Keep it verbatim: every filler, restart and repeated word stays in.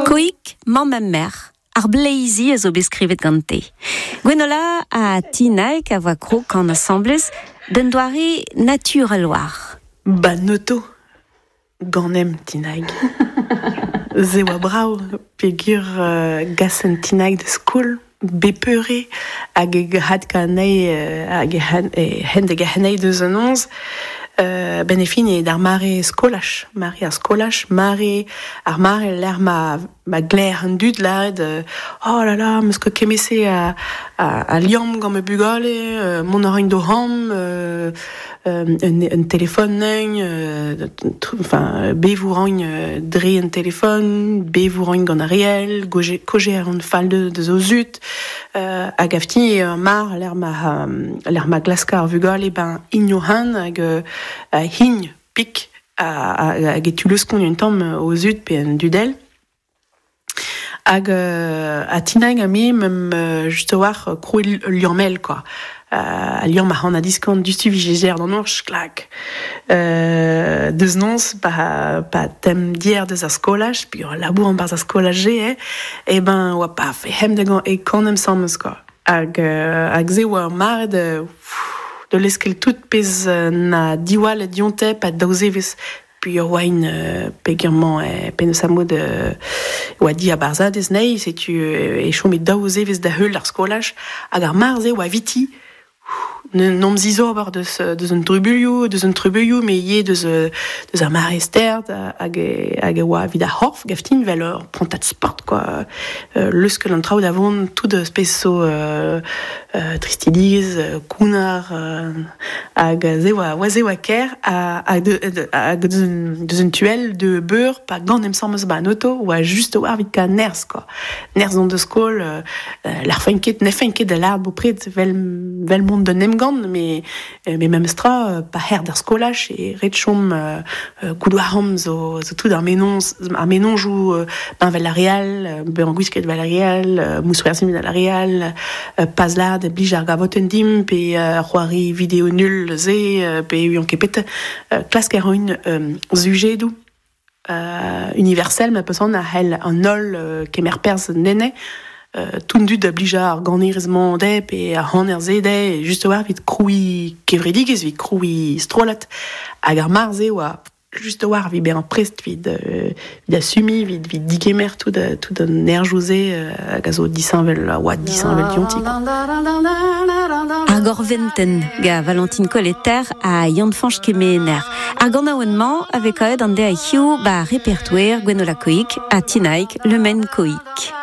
Koik, mamm ha merc'h, ar bleizi a zo bet skrivet gante. Gwenola ha Tinaig a voa krog an asamblez d'un doare naturel war. Ba noto ganem Tinaig. Ze oa brav peogwir uh, gasen Tinaig da skol bepeure hag e had kanei uh, hag e hen, e hen da gahanei deus an onz uh, ben e fin e d'ar mare skolaj, mare ar skolaj, mare ar mare l'er ma, ma gler an dud lâret euh, oh là là, meus ket kemese a, a, a liamm gant ma bugale, euh, mont a raint d'o c'hambr, euh, euh, un, un téléphone neugn, euh, enfin, bevoù raint euh, dre un téléphone, bevoù raint gant ar real, goje, koje ar an fall de, deus o zud, euh, hag afti ur mar l'er ma, l'er ma glaska ar vugale ben igno han hag euh, a hign pik a, a, hag e tu leuskont un tamm o zud pe un dudel. Hag euh, a Tinaig a me mem euh, just war euh, krouet liammel quoi. Euh, a liamm a han a diskant dustu vi d'an orch klak. Euh, deus nonz pa, pa tem dier deus ar skolaj, puis ur labour an barz ar skolaj eh, e ben oa paf, e hem de gant e kanem sammes quoi. Hag, euh, hag ze oa ur mare de, de leskel tout pez na diwall dionte pa daouzevez puis ur oain euh, peogwir e penaos a mod euh, oa di a barzhadez nei, setu euh, e chom e daouzevez da heul ar skolaj, hag ar mar-se oa viti, n'om zizo ober deus, deus un trubuilhoù, deus un trubuilhoù, me ivez deus, deus ar mare sterd hag e, hag e oa evit ar c'horf gaftin vel ur prantad sport quoi. Euh, leuskel an traoù da vont tout eus pezh zo euh, euh, tristidigezh, euh, kounnar, euh, hag ze oa, oa ze oa ker ha, hag de, de, hag deus un, deus un tuel de beur pa gant em sammes ba an auto oa just oa evit ka nerzh quoi. Nerzh on deus skol, euh, l'ar fain ket, ne fain ket da lâret bopred vel, vel mont d'un emgann, mais, euh, mais memes tra, euh, pa her d'ar skolaj e ret chom, euh, euh, goudouaram zo, zo tout ar menonz, ar menonjoù, euh, ben vel ar real, euh, ben gwisket vel ar real, euh, mousc'hoarzhin vel ar real, euh, pas lâret blij ar gavotenn dimp, pe, euh, c'hoari video nul ze, euh, pe uion ket pet, euh, klask ar un, euh, sujedoù, euh, universel, ma peus an a c'hell an holl, euh, kemer perzh nene, Euh, tout dud da blija ar ganerez-mañ dezhe pe ar c'haner-se dezhe, just war evit krouiñ kevredigezh, evit krouiñ strollad. Hag ar mar-se oa just war evit bezañ prest evit, euh, evit assumiñ, evit, evit digemer tout, euh, tout an erjoù-se, euh, hag a zo disheñvel, a oa disheñvel dionti, quoi. Ar gorventenn ga Valentine Colleter ha Yann-Fañch Kemener. Ar ganaouenn-mañ a vez kavet an deiz hiziv ba repertoer Gwenola Koik ha Tinaig Le Men Koik.